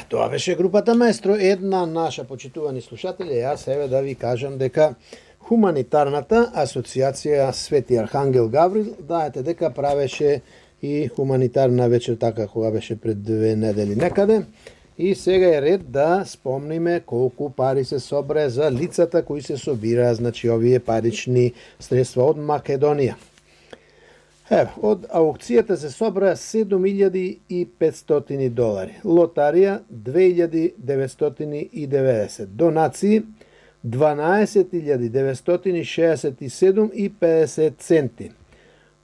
Тоа беше групата Маестро, една наша почитувани слушатели. Јас еве да ви кажам дека Хуманитарната асоциација Свети Архангел Гаврил, знаете дека правеше и хуманитарна вечер така кога беше пред 2 недели некаде. И сега е ред да спомниме колку пари се собре за лицата кои се собираа, значи овие парични средства од Македонија. Од аукцијата се собраа $7.500, лотарија $2.990, донации $12.967,50,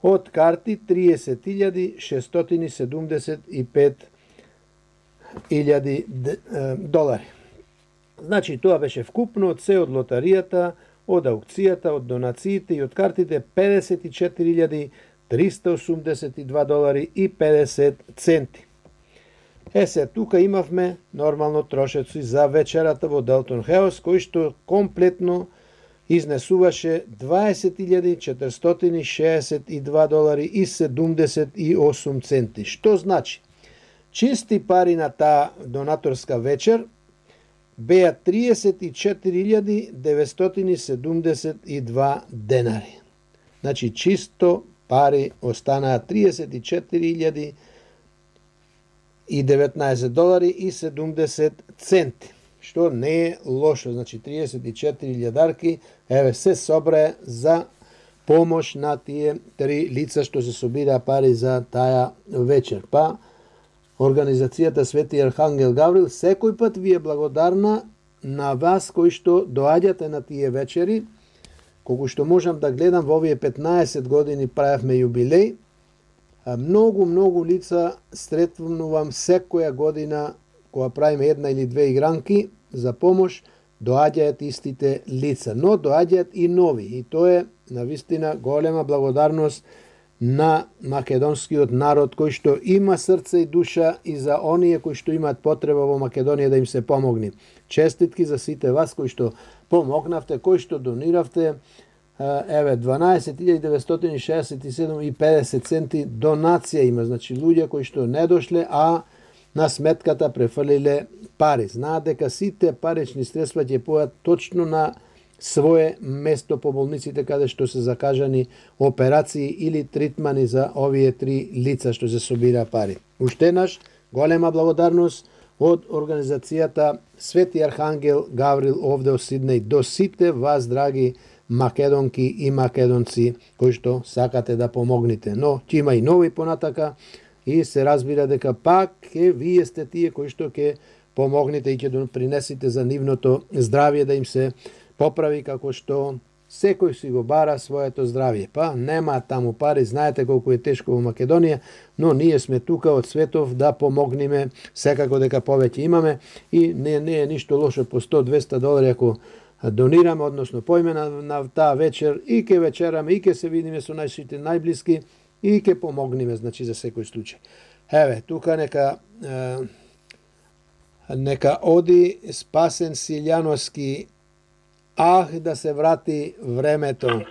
од карти $30.675,000. Значи тоа беше вкупно од се од лотаријата, од аукцијата, од донациите и од картите $54.382,50. Се, тука имавме нормално трошеци за вечерата во Делтон Хаус, кој што комплетно изнесуваше $20.462,78. Што значи? Чисти пари на таа донаторска вечер беа $34.972 денари. Значи чисто пари останаа $34.019,70, што не е лошо. Значи 34.000 еве се собре за помош на тие 3 лица што се собираа пари за таа вечер. Па Организацијата Свети Архангел Гаврил секој пат ви е благодарна на вас кои што доаѓате на тие вечери. Колку што можам да гледам, во овие 15 години правевме јубилеј. Многу лица сретнувам секоја година кога правиме една или две игранки за помош, доаѓаат истите лица, но доаѓаат и нови. И тоа е навистина голема благодарност на македонскиот народ кој што има срце и душа и за оние кои што имаат потреба во Македонија да им се помогне. Честитки за сите вас кои што помогнавте, кои што дониравте. Еве 12.967,50 донација има, значи луѓе кои што не дошле, а на сметката префрлиле пари. Знаат дека сите парични средства ќе појат точно на свое место по болниците каде што се закажани операции или тритмани за овие 3 лица што се собира пари. Уште еднаш голема благодарност од Организацијата Свети Архангел Гаврил овде од Сиднеј до сите вас, драги македонки и македонци кои што сакате да помогнете. Но ќе има и нови понатака и се разбира дека пак вие сте тие кои што ќе помогнете и ќе принесете за нивното здравје да им се поправи, како што секој си го бара своето здравје. Па нема таму пари, знаете колку е тешко во Македонија, но ние сме тука од светов да помогнеме секако дека повеќе имаме и не е ништо лошо по $100-200 ако донираме, односно поиме на таа вечер и ке вечераме и ке се видиме со нашите најблиски и ке помогнеме, значи за секој случај. Еве, тука нека оди Спасен Силјановски, да се врати времето.